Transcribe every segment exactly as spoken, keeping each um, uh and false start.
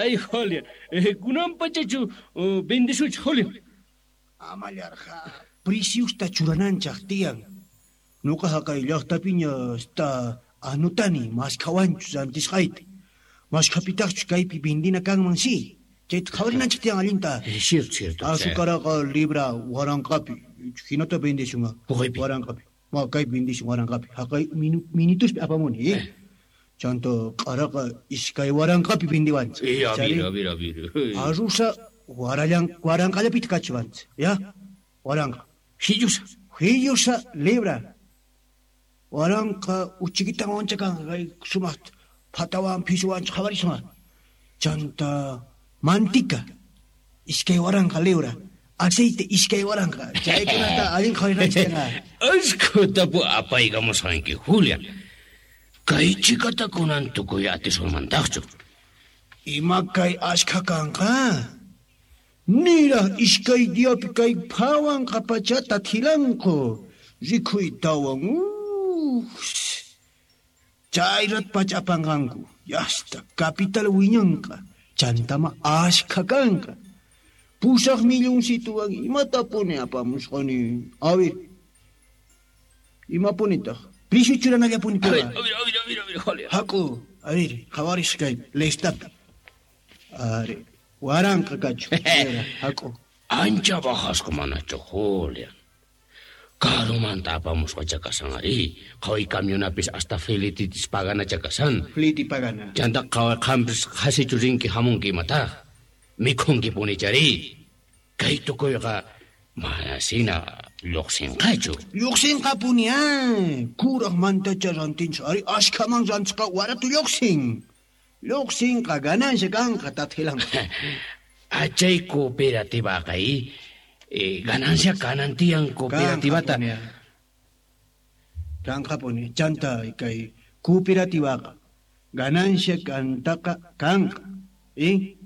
Ay, Julián, kunan pachachu vendisuch, Julián. Amallarqa, preciusta churananchaq tiyan. Nuqa haqay llaqtapiña hasta anotani maskhawanchu rantisqayta. Maskhapitaqchu kaypi vendina kanman si. Chayta qhawarinanchaq tiyan allinta. Cierto, cierto. Azucaraqa libra waranqapi. Hinata vendisun waranqapi. Ma kaypi vendisun waranqapi. Haqay minutuspi apamuni, eh? Chanto q'araqa iskay waranqapi vendiwanchik. Eh, a ver, a ver, a ver. Arrusa warallan waranqallapita kachiwanchik, ya? Waranqa. Hillusa. Hillusa libra. Waranqa uchikitan wancha kanqa kay sumaq phatawan phisuwanchik qhawarisun. Chanta mantika iskay waranqa libra. Aceite iskay waranqa. Chaykunata allin qhawarinanchik kanqa. Ashkhatapu apaykamusqanki, Julián. Kay chikata kunan tukuy atisunmantaqchu. Ima kay ashkha kanqa? Niraq iskay diapi kay phawanqa pachata thilanku. Rikhuytawan. Chayrat pacha apanqanku. Yasta capital wiñanqa. Chantama ashkha kanqa. Pusaq milloncituwan imatapuni apamusqani. A ver. Imapunitaq? Precio churanallapuni. A ver, a ver, a ver, a ver, a ver, Julián. Haku, a ver, qhawaris kay listata. Are, waranqa kachu. Haku. Ancha bajasqa manachu, Julián. Karumanta apamusqacha kasan ari. Qhaway camionapis hasta fletitis paganacha kasan. Fleti pagana. Chanta qhaway qampis qhasichu rinki hamunki imataq. Mikhunki punichari. Kay tukuyqa manasina lluqsinqachu. Lluqsinqapuni, ah. Kuraq mantacha rantinchik ari ashkhaman rantisqa waratu lluqsin. Lluqsinqa ganancia kanqa tathilanqa. Achay cooperativaqa eh, ganancia kanan tiyan cooperativata. Kanqapuni, chanta kay cooperativaqa ganancia kantaqa kanqa. Eh?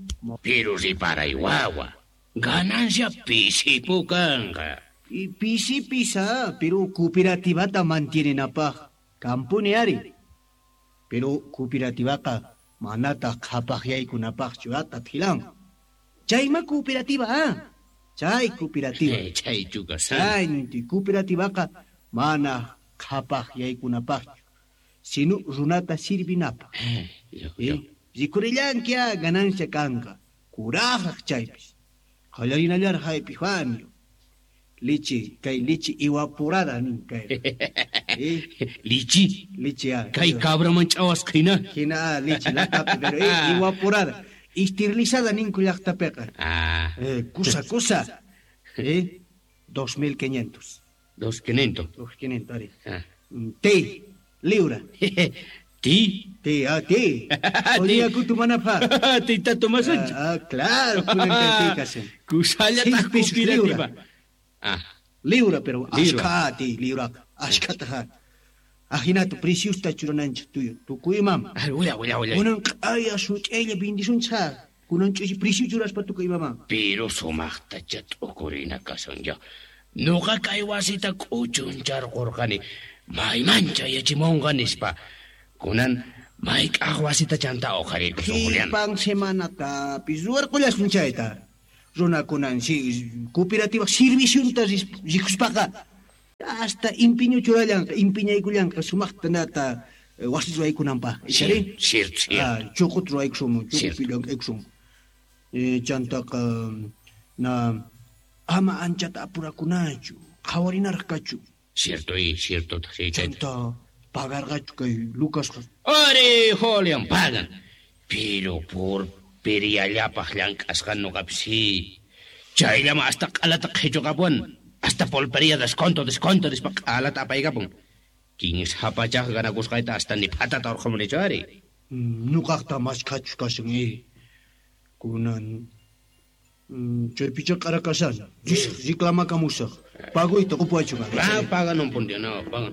Pero riparay wawa. Ganancia pisipu kanqa. Y pisi pisa, pero cooperativata mantienenapaq kampuni ari. Pero cooperativaqa manataq qhapaqyaykunapaqchu tathilan. Chayma cooperativa, ah. Chay cooperativa. Chaychu kasan. Chayninti cooperativaqa mana qhapaqyaykunapaqchu, sino runata sirvinapaq. Eh, rikurillanki ganancia kanqa. Kuraqraq chaypis. Qallarinallaraq Epifanio. Lichi, kay lichi evaporada nin kay. Eh? Lichi. Lichi, ah. Kay cabraman ch'awasqa hina. Hina, ah, lichi latapi, pero eh, evaporada. Esterilizada ninku llaqtapiqa. Ah. Eh, kusa, kusa. Eh, dos mil quinientos. Dos quinientos. Dos quinientos, ari. Ah. Ti, libra. Ti? Ti, ah, ti. Odia kutumanapaq. Tita tomasunchik. Ah, ah, claro, kunan kay ti kasan. Kusallataq Seis pesos cooperativa. libra. Ah. Libra, pero Libra. ashkha ti, libra. Ashkhata. Ajinato preciusta churananchik tuyo. Tukuymam. Ah, willa, willa, willa. Kunan q'aya such'aylla vendisunchik. Kunan ch'usi precio churaspa tukuymam. Pero sumaqtacha t'ukurina kasan ya. Nuqa kay wasita k'uchuncharqurqani. Maymancha yachimunqa nispa. Kunan mayk'aq wasita chanta uqhariykusun, Julián. Qhipan semanatapis ruwarqullasun chayta. Runakunan si cooperativa serviciunta rikuspaqa hasta empeño churallanqa, empeñaykullanqa sumaqta nata wasi ruwaykunanpaq. Cierto, cierto, cierto. Ah, chuqut ruwaykusun, Cierto. chuqupi llank'aykusun. Eh, chantaqa na ama anchata apurakunachu, qhawarinaraq kachu. Cierto, y cierto, sí, chayta. Chanta pagarqachu kay Lucasqa. Ari, Julián, pagan. Pero por periyallapaq llank'asqa nuqapis sí. Chayllama hasta q'alata qhichuqapuwan. Hasta pulpería desconto, desconto, nispa q'alata apaykapun. Kinsa pachaq ganakusqayta hasta ni phatata urqhamunichu ari. Nuqaqta mashkhachu kashan, eh. Kunan, mm, chaypicha q'ara kashan. Reclamakamusaq. Pagoyta qupuwaychu. Ah, pagan un punto, no, pagan.